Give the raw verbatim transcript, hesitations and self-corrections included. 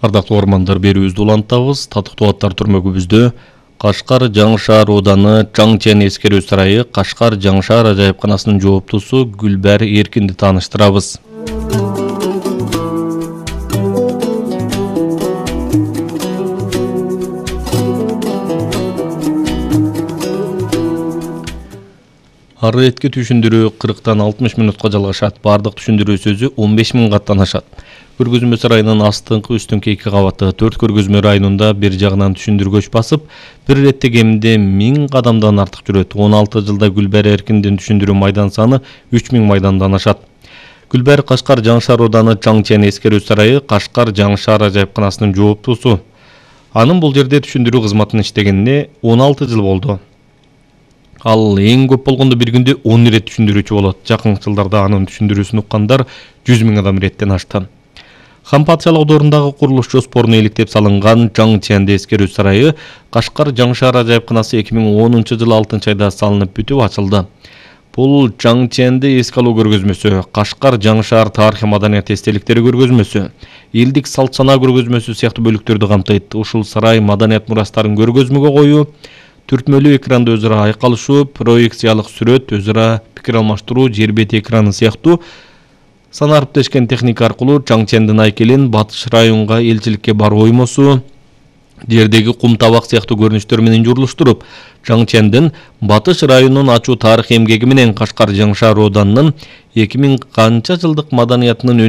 Ардактуу ормандар берүүбүздү улантабыз. Татыктуу аттар түрмөгүбүздө Кашкар Жаңшаар ооданы Жаңчен эскерүү сарайы Кашкар Жаңшаар ажайыпканасынын жооптусу Гүлбар Эркинди тааныштырабыз. Ар иретке түшүндүрүү кырктан алтымыш мүнөткө жалгашат. Бардык түшүндүрүү сөзү он беш миң каттан ашат. Көргөзмө сарайынын астыңкы үстүнкү эки кабаты төрт көргөзмө районунда бир жагынан түшүндүргөч басып, бир иретте кеминде миң кадамдан артык жүрөт. он алты жылда Гүлбар Эркиндин түшүндүрүү майдан саны үч миң майдандан ашат. Гүлбар Кашкар Жаңшаар ооданы Жаңчен эскерүү сарайы Кашкар Жаңшаар ажайыпканасынын жооптусу. Анын бул жерде түшүндүрүү кызматын иштегенине он алты жыл болду. Ал эң көп болгондо бир күндө он ирет түшүндүрүүчү болот. Жакынкы жылдарда анын түшүндүрүүсүн уккандар жүз миң адам иреттен ашты. Хампатчалык оодорундагы курулуш жоспоруна иликтеп салынган Жаңчен эскерүү сарайы Кашкар Жаңшаар ажайыпканасы эки миң онунчу жылы алтынчы айда салынып бүтүп ачылды. Бул Жаңченди эске алуу көргөзмөсү, Кашкар Жаңшаар тарыхый маданият эстеликтери көргөзмөсү, элдик салт санаа көргөзмөсү сыяктуу бөлүктөрдү камтыйт. Ушул сарай маданият мурастарын көргөзмөгө коюу, түртмөлүү экранда өзара айкалышуу, проекциялык сүрөт, өзара пикир алмаштыруу, жер бети экраны сыяктуу санариптешкен техника аркылуу Жаңчендин айкелин батыш районга элчиликке баруу оймосу, жердеги кум табак сыяктуу көрүнүштөр менен журулуштуруп, Жаңчендин батыш районун ачуу тарыхый эмгеги менен Кашкар Жаңшаар ооданынын эки миң канча жылдык маданиятынын